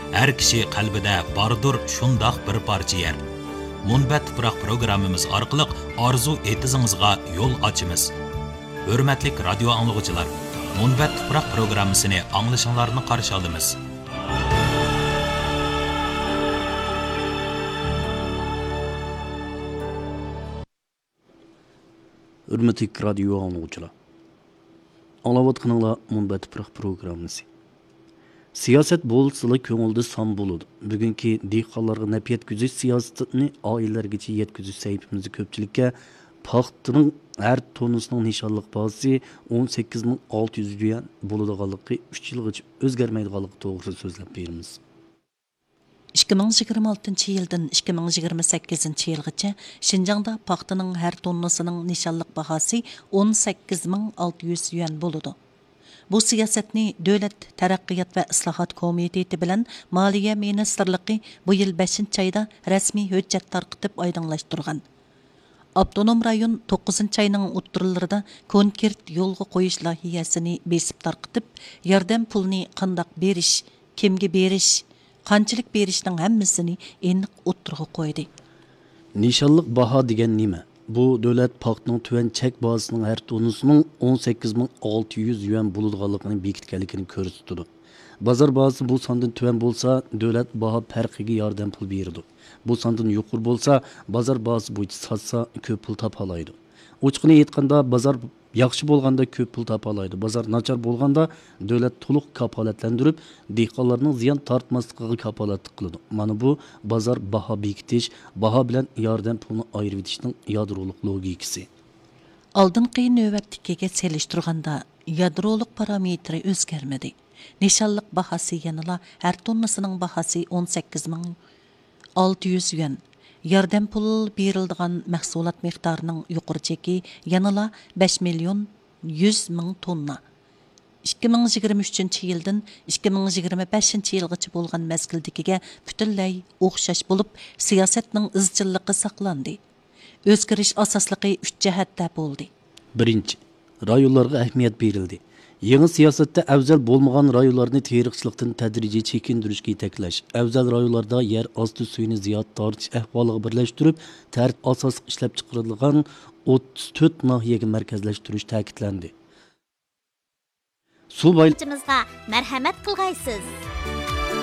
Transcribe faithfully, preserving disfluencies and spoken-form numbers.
ھەر كىشى قەلبىدە باردۇر شۇنداق بىر پارچە يەر. مۇنبەت تۇپراق پروگراممىمىز ئارقىلىق ئارزۇ ئېتىزىڭىزغا يول ئاچىمىز. ھۆرمەتلىك رادىيو ئاڭلىغۇچىلار، مۇنبەت تۇپراق پروگراممىسىنى ئاڭلىشىڭلارنى قارشى ئالىمىز. ھۆرمەتلىك رادىيو ئاڭلىغۇچىلار، ئاڭلاۋاتقىنىڭلار مۇنبەت تۇپراق پروگراممىسى. سىياسەت بولسىلا كۆڭۈلدە سان بولىدۇ. بۈگۈنكى دېھقانلارغا نەپ يەتكۈزۈش سىياسىتىنى ئائىلىلەرگىچە يەتكۈزۈش سەھىپىمىزدە كۆپچىلىككە پاختىنىڭ ھەر توننىسىنىڭ نىشانلىق باھاسى ئون سەككىز مىڭ ئالتە يۈز يۈەن بولىدىغانلىقى، ئۈچ يىلغىچە ئۆزگەرمەيدىغانلىقى توغرىسىدا سۆزلەپ بېرىمىز. ئىككى مىڭ يىگىرمە ئالتىنچى يىلدىن ئىككى مىڭ يىگىرمە سەككىزىنچى يىلغىچە شىنجاڭدا پاختىنىڭ ھەر توننىسىنىڭ نىشانلىق باھاسى ئون سەككىز مىڭ ئالتە يۈز يۈەن بولىدۇ. بۇ سىياسەتنى دۆلەت تەرەققىيات ۋە ئىسلاھات كومىتېتى بىلەن مالىيە مىنىستىرلىقى بۇ يىل بەشىنچى ئايدا رەسمىي ھۆججەت تارقىتىپ ئايدىڭلاشتۇرغان. ئاپتونوم رايون توققۇزىنچى ئاينىڭ ئوتتۇرىلىرىدا كونكرېت يولغا قويۇش لايىھەسىنى بېسىپ تارقىتىپ، ياردەم پۇلىنى قانداق بېرىش، كىمگە بېرىش، قانچىلىك بېرىشنىڭ ھەممىسىنى ئېنىق ئوتتۇرىغا قويدى. نىشانلىق باھا دېگەن نېمە؟ بۇ دۆلەت پاختىنىڭ تۆۋەن چەك باھاسىنىڭ ھەر توننىسىنىڭ ئون سەككىز مىڭ ئالتە يۈز يۈەن بولىدىغانلىقىنى بېكىتكەنلىكىنى كۆرسىتىدۇ. بازار باھاسى بۇ ساندىن تۆۋەن بولسا، دۆلەت باھا پەرقىگە ياردەم پۇل بېرىدۇ. بۇ ساندىن يۇقىرى بولسا، بازار باھاسى بويىچە ساتسا، كۆپ پۇل تاپالايدۇ. ئوچۇقىنى ئېيتقاندا، بازار ياخشى بولغاندا كۆپ پۇل تاپالايدۇ، بازار ناچار بولغاندا دۆلەت تولۇق كاپالەتلەندۈرۈپ، دېھقانلارنىڭ زىيان تارتماسلىقىغا كاپالەتلىك قىلىدۇ. مانا بۇ بازار باھا بېكىتىش، باھا بىلەن ياردەم پۇلىنى ئايرىۋېتىشنىڭ يادرولۇق لوگىكىسى. ئالدىنقى نۆۋەتتىكىگە سېلىشتۇرغاندا، يادرولۇق پارامېتىرى ئۆزگەرمىدى. نىشانلىق باھاسى يەنىلا ھەر توننىسىنىڭ باھاسى ئون سەككىز مىڭ ئالتە يۈز يۈەن. ياردەم پۇل بېرىلىدىغان مەھسۇلات مىقدارىنىڭ يۇقىرى چېكى يەنىلا بەش مىليون يۈز مىڭ توننا. ئىككى مىڭ يىگىرمە ئۈچىنچى يىلدىن ئىككى مىڭ يىگىرمە بەشىنچى يىلغىچە بولغان مەزگىلدىكىگە پۈتۈنلەي ئوخشاش بولۇپ، سىياسەتنىڭ ئىزچىللىقى ساقلاندى. ئۆزگىرىش ئاساسلىقى ئۈچ جەھەتتە بولدى. بىرىنچى، رايونلارغا ئەھمىيەت بېرىلدى. يېڭى سىياسەتتە ئەۋزەل بولمىغان رايونلارنى تېرىقچىلىقتىن تەدرىجىي چېكىندۈرۈشكە يېتەكلەش، ئەۋزەل رايونلاردا يەر ئاستى سۈيىنى زىيادە تارتىش ئەھۋالىغا بىرلەشتۈرۈپ، تەرتىپ ئاساسلىق ئىشلەپچىقىرىدىغان ئوتتۇز تۆت ناھىيەگە مەركەزلەشتۈرۈش تەكىتلەندى. سۇ باي- مەرھەمەت قىلغايسىز.